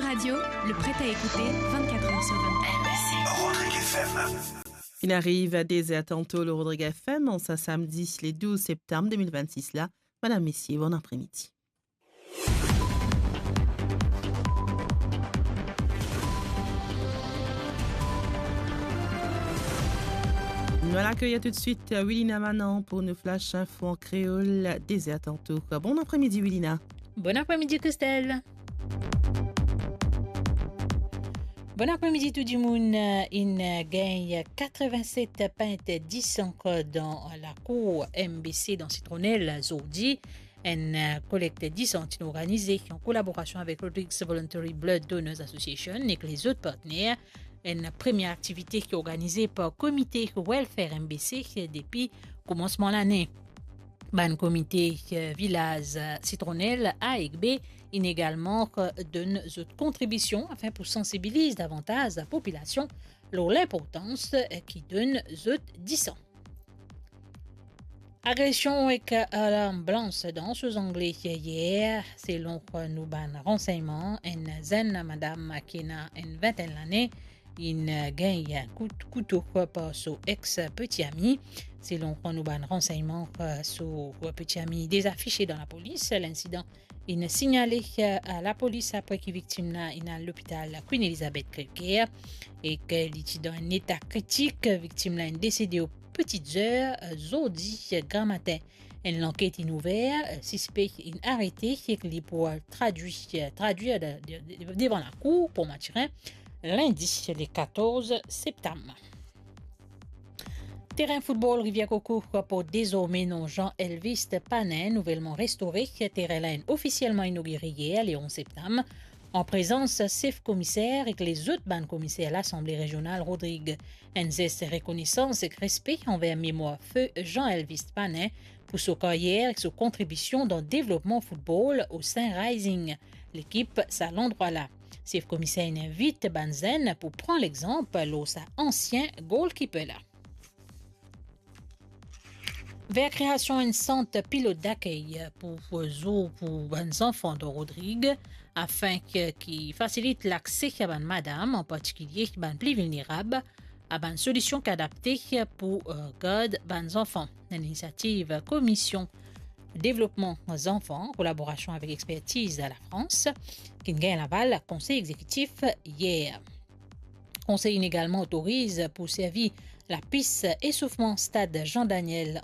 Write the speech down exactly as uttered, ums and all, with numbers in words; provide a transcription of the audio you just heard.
Radio, le prêt à écouter vingt-quatre heures sur vingt-quatre. Rodrigue F M. Finn ariv a de zer tanto lor Rodrigue F M, an sa samdi le douz septam de mil vennsis la. Madam, mesie, bon apremidi. Nou al akeyir toutswit Wilina Manan pou nou flash info an kreol, de zer tanto. Bon apremidi, Wilina. Bon apremidi, Christelle. Bon apremidi tou dimoun. Inn gagn katrevin-set pint disan dan lakour M B C dan Sitronel zordi. Enn kolekt disan ti organize an kolaborasion avek Rodrigues Voluntary Blood Donors Association ek lezot partner. Enn premie aktivite ki organize par komite Welfare M B C depi koumansman lane. Bann komite, eh, vilaz, eh, Sitronel A ek B inn egalman, eh, donn zot kontribision afin pou sansibiliz davantaz lapopilasion lor linportans, eh, ki donn zot disan. Agresion ek, eh, larm blanch dan Sault Anglais yer, selon, eh, nou bann ransegnman, enn zenn madam ki ena enn vintenn lane, inn gagn kout kouto par so ex peti ami. Selon nou bann ransegnman, so peti ami deza fise dan lapolis. Linsidan inn signale a lapolis apre ki viktim la inn al lopital Queen Elizabeth Crèvecoeur ek li ti dan enn eta kritik. Viktim la inn desede o peti zer zordi gramatin. Enn lanket inn ouver, sispe inn arete ek li pou al tradwir, tradwir de, de, de, devan lakour pou Matirin, lindi le katorz septam. Terin foutbol Rivière Coco pou dezorme nom Jean Elvis Panin, nouvelman restore. Terin la inn ofisielman inogire yer, le onz septam, an prezans sef komiser ek lezot bann komiser Lasanble Rezional Rodrig. Enn zes rekonesans ek respe anver memwar Fe Jean Elvis Panin pou so karyer ek so kontribision dan devlopman foutbol o Saint Rising, lekip sa landrwa la. Sef komiser inn invit bann zenn pou pran lexanp lor sa ansien goalkeeper la. Ver kreasion enn sant pilot dakey pou, pou zour pou bann zanfan dan Rodrig, afin ki, ki fasilit lakse a bann madam, an partikilie bann pli vilnerab, a bann solision ki adapte pou, eh, gard bann zanfan. Enn inisiativ Komision Devlopman Zanfan, kolaborasion avek Expertise Lafrans, ki'nn gagn laval Konsey Exekitif yer. Konsey inn egalman otoriz pou servi lapis esoufman Stad Jean Daniel